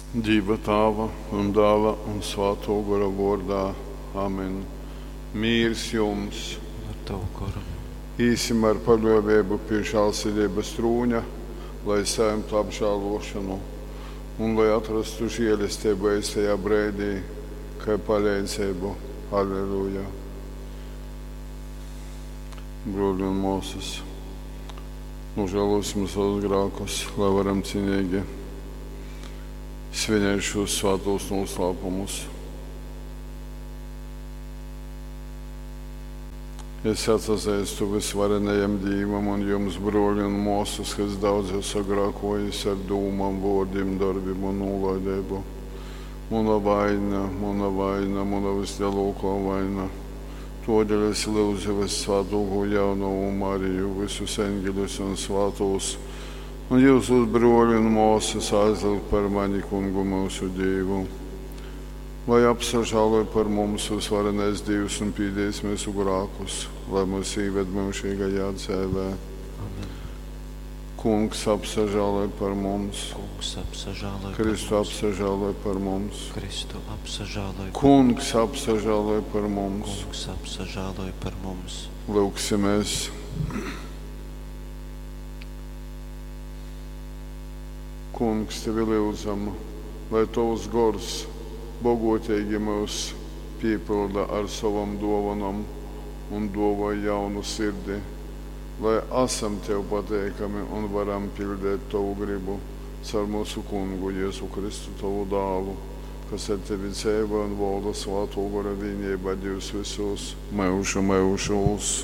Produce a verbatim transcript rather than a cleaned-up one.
Dīva Tāva un Dāla un Svātō Gora vōrdā. Amen. Mīrs jums! Un ar tavu goru. Īsim ar paļōveibu pi žālsirdeibas trūņa, lai sajimtu apžālōšonu un lai atrastu žēlesteibu eistajā breidī, kai paleidzeibu. Alleluja! Brōļi un mōsas, nožēlosim savus grākus, lai varam cienīgi svinēt šos svātos noslēpumus. Es atsazīstu visvarenajam Dīvam un jums, brōļi un māsas, ka es daudz esmu sagrēkojis ar dūmām, vōrdim, darbim un nūlaideibu. Muna vaina, muna vaina, muna vislielākā vaina. Todēļ es lūdzu Vissvātāko jaunavu Mariju, visus eņģeļus un svātos, un jūsus brōļi un māsas aizlūgt par mani kungu mūsu Dievu. Lai apsažāloj par mums visvarenais Dievs un pīdīs mūsu grākus, lai mūs īved mūžīgajā dzīvē. Amen. Kungs apsažāloj par mums, Kungs apsažāloj par Kristu mums. apsažāloj par mums, Kristu apsažāloj par Kungs apsažāloj par mums. Kungs apsažāloj par mums. Lūgsimies! Kungs, tevi lūdzam, lai tavs gors bogotīgi mūs piepilda ar savam dovanam un dāvā jaunu sirdi, lai esam tev pateikami un varam pildīt tavu gribu caur mūsu kungu Jēzu Kristu, tavu dālu, kas ar tevi dzīvo un valda Svāto Gora vienībā Dievs visos mūžu mūžos.